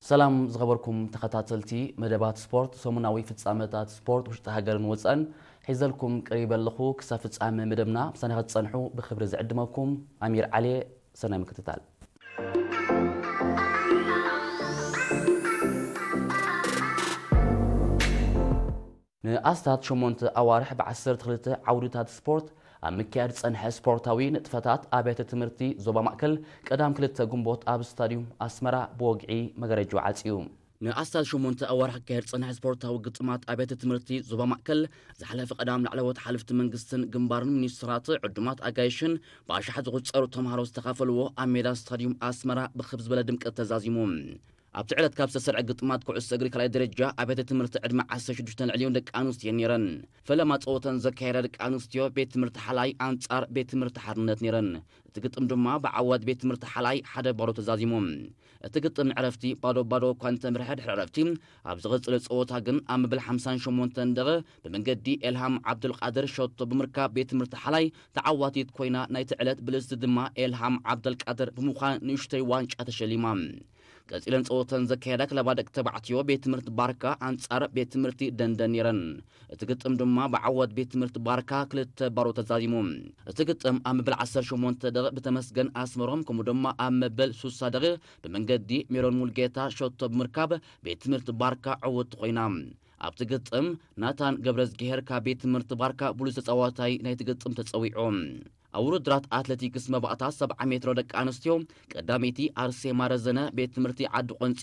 ሰላም ዝኸበርኩም ተኸታተልቲ መደባት ስፖርት፣ ሰሙናዊ ፍጻመታት ስፖርት ውሽጢ ሃገርን ወጻእን ሒዘልኩም ቀሪበ ኣለኹ። ክሳብ ፍጻመ መደብና ምሳና ክትጸንሑ ብኽብሪ ዝዕድመኩም ኣሚር ዓሊ። ሰናይ ምክትታል። ንኣስታት ሸሞንተ ኣዋርሕ ብዓሰርተ ክልተ ዓውድታት ስፖርት ኣብ ምክያድ ዝጸንሐ ስፖርታዊ ንጥፈታት ኣብያተ ትምህርቲ ዞባ ማእከል ቀዳም ክልተ ግንቦት ኣብ ስታድዩም ኣስመራ ብወግዒ መጋረጃ ዓጽዩ። ንኣስታት ሸሞንተ ኣዋርሕ ክካየድ ዝጸንሐ ስፖርታዊ ግጥማት ኣብያተ ትምህርቲ ዞባ ማእከል ዝሓለፈ ቀዳም ላዕለዎት ሓለፍቲ መንግስትን ግንባርን ሚኒስትራት ዕዱማት ኣጋይሽን ብኣሽሓት ዝቑጸሩ ተምሃሮ ዝተኻፈልዎ ኣብ ሜዳ ስታድዩም ኣስመራ ብኽብ ዝበለ ድምቀት ተዛዚሙ። ኣብቲ ዕለት ካብ ዝተሰርዐ ግጥማት ኩዕሶ እግሪ ካልኣይ ደረጃ ኣብያተ ትምህርቲ ዕድመ ዓሰርተ ሽዱሽተ ንልዕሊኡን ደቂ ኣንስትዮ ነይረን። ፈለማ ጸወተን ዘካየዳ ደቂ ኣንስትዮ ቤት ትምህርቲ ሓላይ ኣንጻር ቤት ትምህርቲ ሓርነት ነይረን። እቲ ግጥም ድማ ብዓወት ቤት ትምህርቲ ሓላይ ሓደ ባዶ ተዛዚሙ። እቲ ግጥም ንዕረፍቲ ባዶ ባዶ እኳ እንተምርሐ፣ ድሕሪ ዕረፍቲ ኣብ ዝቐጸለ ጸወታ ግን ኣብ መበል ሓምሳን ሸሞንተን ደቂቕ ብመንገዲ ኤልሃም ዓብዱልቃድር ሸቶ ብምርካብ ቤት ትምህርቲ ሓላይ ተዓዋቲት ኮይና ናይቲ ዕለት ብልጽቲ ድማ ኤልሃም ዓብደልቃድር ብምዃን ንእሽተይ ዋንጫ ተሸሊማ። ቀጺለን ጸወተን ዘካየዳ ክለባ ደቂ ተባዕትዮ ቤት ትምህርቲ ባርካ ኣንጻር ቤት ትምህርቲ ደንደን ነይረን። እቲ ግጥም ድማ ብዓወት ቤት ትምህርቲ ባርካ ክልተ ባዶ ተዛዚሙ። እቲ ግጥም ኣብ መበል ዓሰርተ ሸሞንተ ደቂቕ ብተመስገን ኣስመሮም ከምኡ ድማ ኣብ መበል ሱሳ ደቂቕ ብመንገዲ ሜሮን ሙልጌታ ሸቶ ብምርካብ ቤት ትምህርቲ ባርካ ዕውት ኮይና። ኣብቲ ግጥም ናታን ገብረዝግሄር ካብ ቤት ትምህርቲ ባርካ ብሉጽ ተጻዋታይ ናይቲ ግጥም ተጸዊዑ። ኣብ ውድድራት ኣትሌቲክስ መባእታ ሰብዓ ሜትሮ ደቂ ኣንስትዮ ቀዳመይቲ ኣርሴማ ረዘነ ቤት ትምህርቲ ዓዲ ቆንጺ